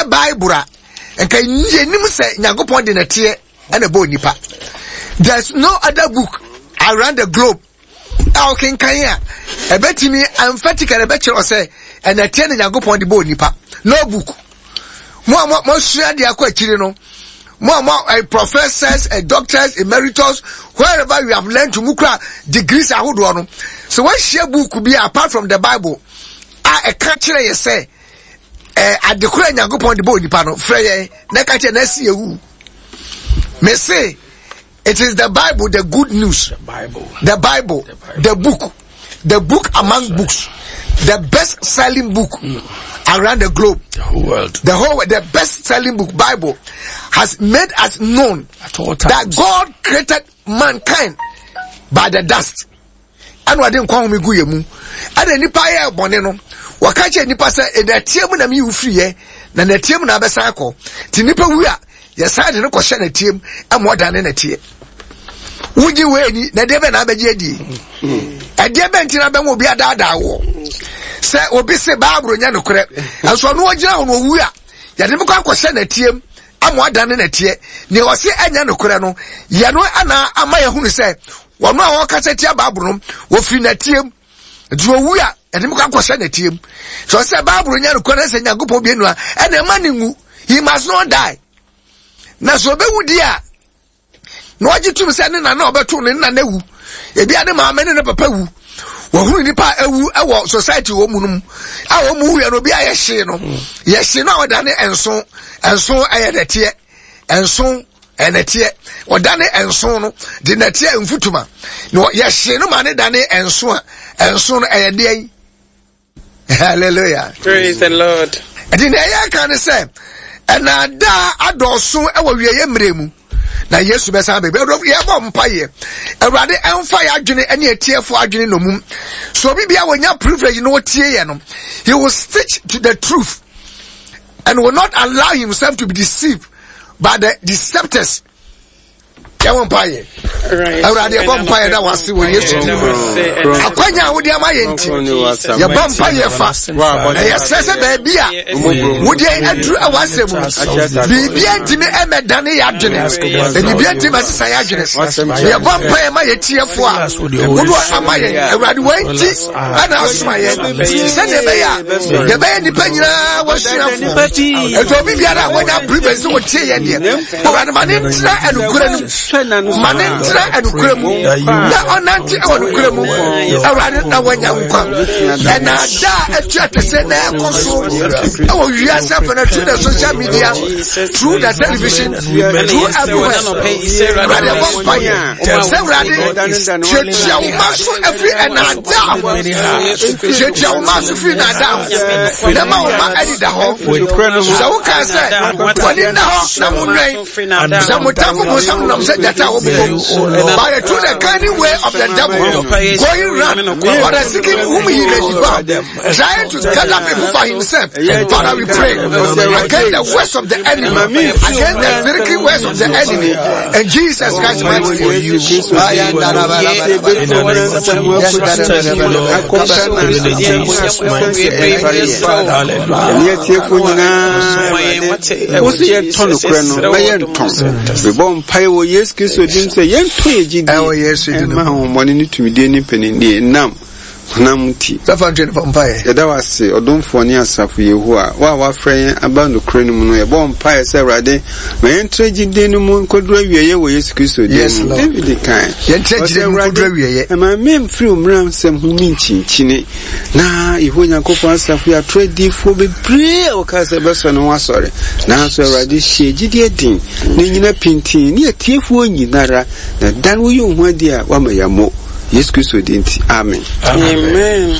ɛnyɛ Bible a, nka yɛnim sɛ Nyankopɔn de nɛteɛ ɛna ɛbɔɔ nipa. There's no other book around the globe a wokenkan a ɛbɛtumi emphatically ɛbɛkyerɛ sɛ ɛnɛteɛ na Nyankopɔn de bɔɔ nipa. No book. Mo a moasua deɛ akɔ akyiri no, mo a mo eh, professors, eh, doctors, emeritus, wherever you have learned to mu kura degrees ahodoɔ no, sɛ woahyia book bi apart from the Bible a ɛka kyerɛ yɛ sɛ eh, adekora Nyankopɔn de bɔɔ nipa no, frɛ yɛn na ɛka kyerɛ na ɛsi ewu. Mese It is the Bible, the good news. The Bible. The Bible. The, Bible. the book. The book among That's books. The best selling book around the globe. The whole world. The whole the best selling book, Bible, has made us known At all that times. God created mankind by the dust. Ɛna ɔde nkwa home gu yɛ mu. Ɛna nipa yɛ bɔne no, wɔka kyerɛ nipa sɛ ɛnɛteɛ mu na meyi wo firi yɛ, na nɛteɛ mu na abɛsan akɔ. Nti nipa wu a, yɛsan de no kɔhyɛ nɛteɛ mu ɛma ɔdane nɛteɛ. Wogye wei ni, na ɛdeɛ bɛn na abɛgye adie? Ɛdeɛ bɛn nti na abɛn obi adaadaa woɔ? Sɛ obi se Baaburo nyɛ nokorɛ, nso ɔno ɔgyina hɔ na owu a, yɛde no kɔ akɔhyɛ nɛteɛ mu ama ɔdane nɛteɛ. Nea ɔse ɛnyɛ nokorɛ no, yɛ no ana ama yɛhunu sɛ Wɔn a wɔkasa tia Bible no, wɔfiri nɛteɛ mu. Nti owu a, ɛde mu kɔ akɔhyɛ nɛteɛ mu. Sɛ ɔsɛ Bible nyɛ nokorɛ na sɛ Nyankopɔn bie no a, ɛna ɛma ne nwu. He must not die. Na sɛ ɔbɛwu di a, na ɔgye tum sɛ ne nana ɔbɛto ne nana wu. Ebi a ne maame ne ne papa wu. Wɔhunu nipa a awu wɔ society wɔ mu no mu. A wɔn mu wuyɛ no, obi a yɛhyee no. Yɛhyee no a ɔdane nso. Nso ɛyɛ nɛteɛ. Nso ɛnɛteɛ ɔdane nson no de nɛteɛ mfutuma na yɛhye no ma ne dane nson a nson no ɛyɛ deɛ yi hallelujah praise the lord ɛde na ɛyɛ ka ne sɛ ɛnaadaa adɔɔso ɛwɔ wieɛ mmerɛ mu na yesu bɛsan baabi yɛbɔ mpaeɛ awurade ɛmfa yɛ adwene ɛne atiefoɔ adwene nɔmum so obi bia wɔnya privilege na ɔtie yɛ no he will stick to the truth and will not allow himself to be deceived by the deceptors yɛwɔ mpaeɛ awurade yɛbɔ mpaeɛ da wase wɔ yesu din mu akwanya a wode ama yɛ nti yɛbɔ mpaeɛ fa na yɛsrɛ sɛ baabi a wode aduru a wasɛm mu biribia ntumi ɛmɛdane yɛ adwene na biribia ntumi ɛsesa yɛ adwene yɛbɔ mpaeɛ ma yɛtiɛfoɔ a wode ama yɛn awurade wanti ɛna asoma yɛn sɛdeɛ ɛbɛyɛ a yɛbɛyɛ nnipa nyinaa wɔasuafoɔ ɛnti obi biara a wɔnya privilege sɛ wɔtie yɛn deɛ awurade ma ne ntena ɛnokorɛ no mu ma ne ntena ɛnokorɛ mu na ɔnante ɛwɔ nokorɛ mu awurade na wɔanya nkwa ɛna ada a ɛtu atɛsɛ na ɛkɔ so ɛwɔ wiase afɛ no through the social media through the television through everywhere awurade ɛbɔ mpaeɛ sɛ awurade tuatua wo ma so afiri ɛnaadaa ho tuatua wo ma so firi naadaa ho na ma wo ma anida hɔ sɛ wokaa sɛ wɔne nna hɔ na monwɛn sɛ mo tamfo mo nsam nam sɛ gyata a wɔbobɔ by the through the cunning way of the devil going round for the seeking whom he may devour trying to gather people for himself. Father, we pray against the words of the enemy, against the tricky words of the enemy. And Jesus Christ, mighty for you. Mebɔ mpae wɔ Yesu Kristo din sɛ yɛntɔ yɛ gyidie ɛma ahommɔne ne tumidie ne mpaninnie nam honam nti. Sɛ ntwe no fa mpaeɛ. Yɛda wo ase, ɔdomfoɔ ne asafo Yehowa, wo a woafrɛ yɛn aba nokorɛ no mu no. Yɛbɔ mpaeɛ sɛ, Awurade, ma yɛntra gyidie no mu nkɔduru awieeɛ wɔ Yesu Kristo din Yes, mu. Lord. David kae, Yɛntra ɔsɛ, gyidie no mu nkɔduru Awurade, awieeɛ. mma memfiri wo mmara nsɛm ho menkyinkyini. Na Yehowa Nyankopɔn asafo yi atorɔ adiyifoɔ bebree a wɔkaa sɛ bɛsɔ ne ho asɔre. Nanso Awurade, hyɛ gyidie den na nnyina pintinn ne atiefoɔ nyinara, na da no woyi wo ho adi a, woama yɛammɔ. Yesu Kristo din nti, amen. Amen.